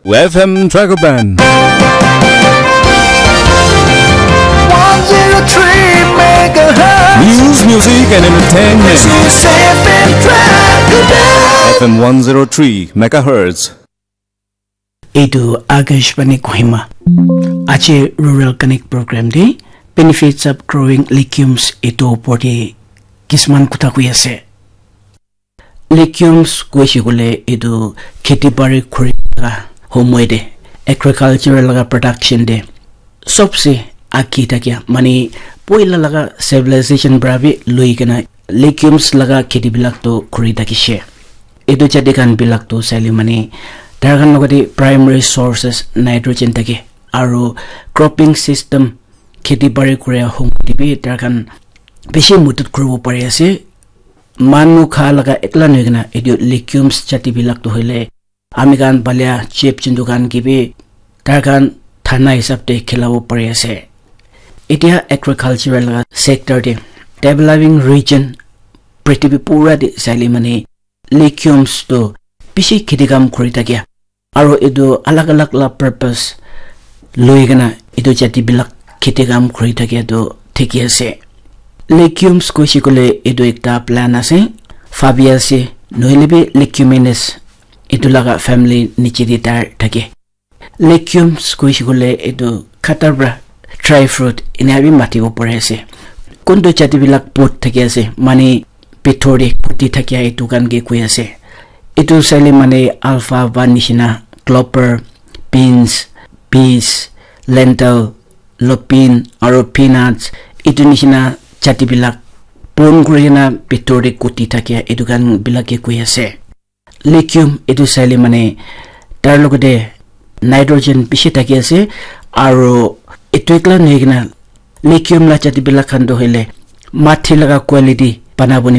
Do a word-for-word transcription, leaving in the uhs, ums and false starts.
F M Dragoban. one zero three megahertz. News, music, and entertainment. This is F M Dragoban. F M one zero three megahertz. Etu Akashvani Kohima. Ache Rural Connect program de benefits of growing legumes etu opor de kisman kotha koi ase. Legumes koise kole etu kheti bari kuri laga homoi de agricultural laga production de sobse aki thakia mane poila laga civilization para bi lui kena legumes laga kheti bilak to kuri thakishe. Etu jati khan bilak to saile mane tar khan logate primary sources nitrogen thake aro cropping system kheti bari kuri homoi de bi tar khan bishi mudut kuribo pari ase. Manu kha laga ekla nohoi kena etu legumes jati bilak to hoile ami khan balia chip chintu khan ke bi tar khan thana hisab te khilabo pari ase. Etia agricultural laga sector te developing region prithibi pura te saile mane legumes to bishi kheti kam kuri thakia aro etu alag alag la purpose lui kena etu jati bilak kheti kam kuri thakia tu thiki ase. Legumes koise kole etu ekta plant ase, phabi ase, nohoile bi leguminous etu laga family niche te tar thake. Legumes koise kole etu khata para dry fruit ena bi matibo pari ase. Kuntu jati bilak pot thaki ase mane bithor te kuti thakia etu khan ke koi ase. Etu saile mane alfalfa nishina clover, beans, peas, lentil, lupin aro peanuts etu nishina jati bilak pon kuri kena bithor te kuti thakia etu khan bilak ke koi ase. Legume etu saile mane tar logate nitrogen bishi thaki ase aro etu ekla nohoi kena legume la jati bilak khan to hoile mati laga quality bana boni